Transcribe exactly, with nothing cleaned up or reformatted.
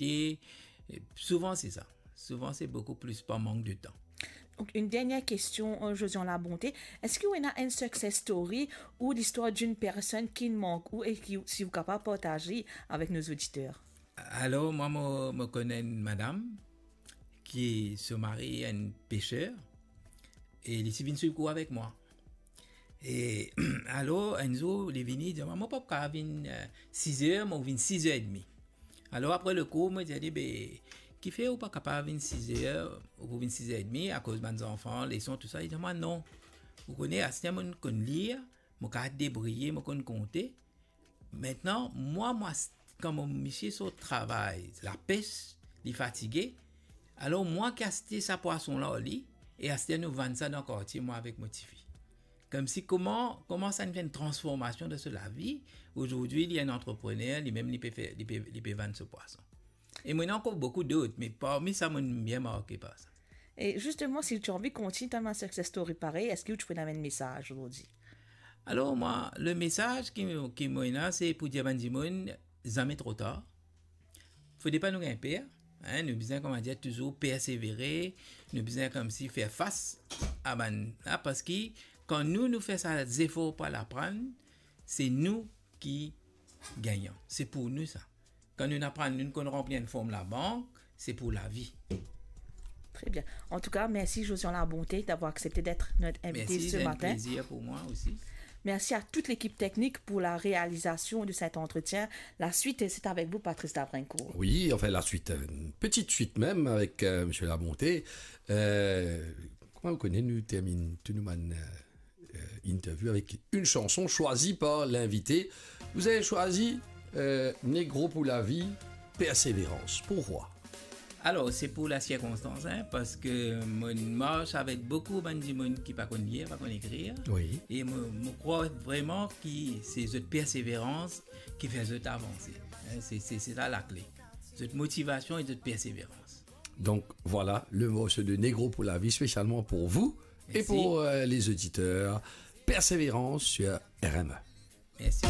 E, e souvan se sa. Souvan se boukou plis par mank de tan. Donc, une dernière question, euh, Josian Labonté. Est-ce que vous avez une success story ou l'histoire d'une personne qui manque ou et qui, si vous êtes capable de partager avec nos auditeurs? Alor, mwa, mo, mo konn enn madam ki so mari enn peser, e li ti vinn swiv kour avek mwa. E alor, enn zour, li vini, li dir, "Mwa, mo pa kapav vinn, eh, siz er, mo vinn siz er edmi." Alor, apre lekour, mo dir li, "Be, kifer ou pa kapav vinn siz er, ou pou vinn siz er edmi, akoz bann zanfan, leson, tou sa?" Li dir mwa, "Non. Ou kone, aster mo konn lir, mo kapav debriye, mo konn konte." Aster mwa, mwa, kan mo misie sort travay, lapes, li fatige, alor mwa ki aste sa pwason la ar li, e aster nou vann sa dan kartie, mwa avek mo tifi. Koumsi kouma, kouma sa inn fer enn transformasion dan so lavi. Azordi, li enn antreprener, li mem li pe fer, li pe, li pe vann so pwason. E mo ena ankor boukou dot, me parmi sa, mo bien marke par sa. Et justement, si tu as envie de continuer ta success story parey, est-ce que tu peux amener un message aujourd'hui? Alor, mwa, le mesaz ki, ki mo ena, se pou dir bann dimoun, zame tro tar. Fode pa nou gagn per, hein, nou bizin, kouma dir, touzour persevere, nou bizin koumsi fer fas a bann la, parski kan nou, nou fer sa zefor pou al aprann, se nou ki gagnan. Se pou nou sa. Kan nou aprann, nou konn ranpli enn form labank, se pou lavi. Très bien. En tout cas, merci Josian Labonté d'avoir accepté d'être notre invité ce matin. Merci, c'est un plaisir pour moi aussi. Merci à toute l'équipe technique pour la réalisation de cet entretien. La suite, c'est avec vous, Patrice Davrincourt. Oui, enfin, la suite, euh, une petite suite même avec, euh, Monsieur Labonté. Euh, kouma ou kone, nou terminn tou nou bann, euh, euh, interview avec une chanson choisie par l'invité. Vous avez choisi, euh, Négro pour la vie, Persévérance. Pourquoi? Alor, se pou la sirkonstans, hein, parski mo mars avek boukou bann dimoun ki pa konn lir, pa konn ekrir. Oui. E mo, mo krwar vreman ki se zot perseverans ki fer zot avanse. Hein, se, se, se sa lakle. Zot motivasion e zot perseverans. Donc voilà le morceau de Négro pour la vie spécialement pour vous et pour, euh, les auditeurs. Persévérance sur R M E. Merci.